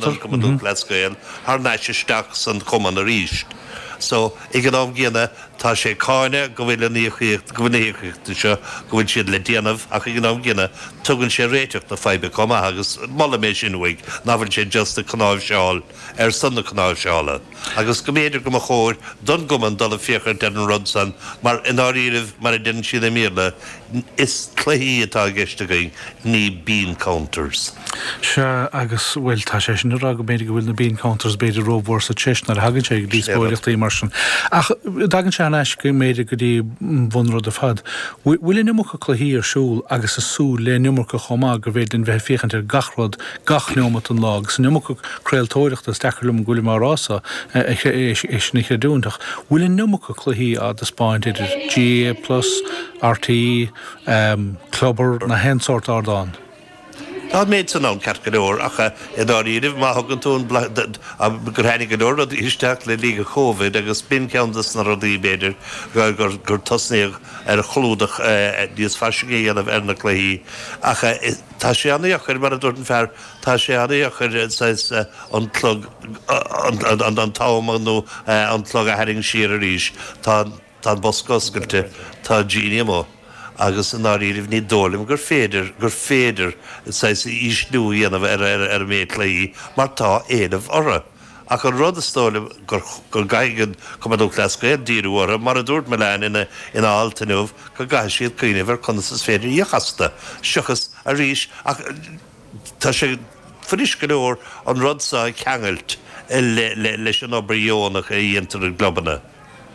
an Cumann Lúthchleas Gael thar n-ais isteach san chumann arís. So, ag an am gcéanna, tá sé ag cáineadh go bhfuil an íocaíocht, go bhfuil na híocaíochtaí seo, go bhfuil siad le déanamh ach ag an am gcéanna, tugann sé réiteach na faidhbe chomh maith agus molaim é sin uaidh, nach bhfuil sé just ag cnáimhseáil ar son na cnáimhseála. Agus go mb'fhéidir go mba chóir don gcumann dul ag féachaint ar an rud san mar i ndáiríribh, mar a deireann siad i mBéarla, Is cluichí atá i gceist againn, ní bean counters. Sea, agus, bhuel, tá sé sin ag rá go mb'fhéidir go bhfuil na bean counters b'fhéidir rómhór sa treis nuair a thagann sé ag díospóireachtaí mar sin. Ach dtagann sé thar n-ais go mb'fhéidir go dtí an bhunrud ar fad. Bhfuil an iomarca cluichí ar siúl agus ag súil le an iomarca chomh maith go bhféidir linn bheith ag féachaint ar gach rud gach neomat den lá agus an iomarca craoltóireachta, is deacair liom go bhfuilim á rá so, é sin a chreidiúint, ach bhfuil an iomarca cluichí á dtaispeáint idir GAA Plus, RTÉ, Clubar, nó aon sórt ardán? Tá an méid san ann, ceart go leor, ach i ndáiríribh, má thugann tú an gur tháinig go leor rudaí isteach le linn Covid agus b'in ceann de na rudaí, b'fhéidir, gur tosnaíodh ar chlúdach níos fairsinge a dhéanamh ar na cluichí. Ach tá sé an-dheacair, mar a dúirt an fear, tá sé an-dheacair saghas an clog, an t-am nó an clog a tharraingt siar arís. Tá an. Tá an bosca oscailte, tá an genie amuigh agus i ndáiríribh ní dóigh liom gur féidir, gur féidir saghas ísliú a dhéanamh ar ar an méid cluichí mar tá éileamh orthu. Ach an rud is dóigh liom gur, go gcaithfidh an Cumann Lúthchleas Gael díriú orthu, mar a dúirt Mullane ina, ina alt inniu, go gcaithfidh siad cuimhneamh ar conas is féidir íoc astu, seachas arís ach tá sé fuirist go leor an rud seo a cheangailt le, le, leis an obair dheonach a dhéantar i gclubanna.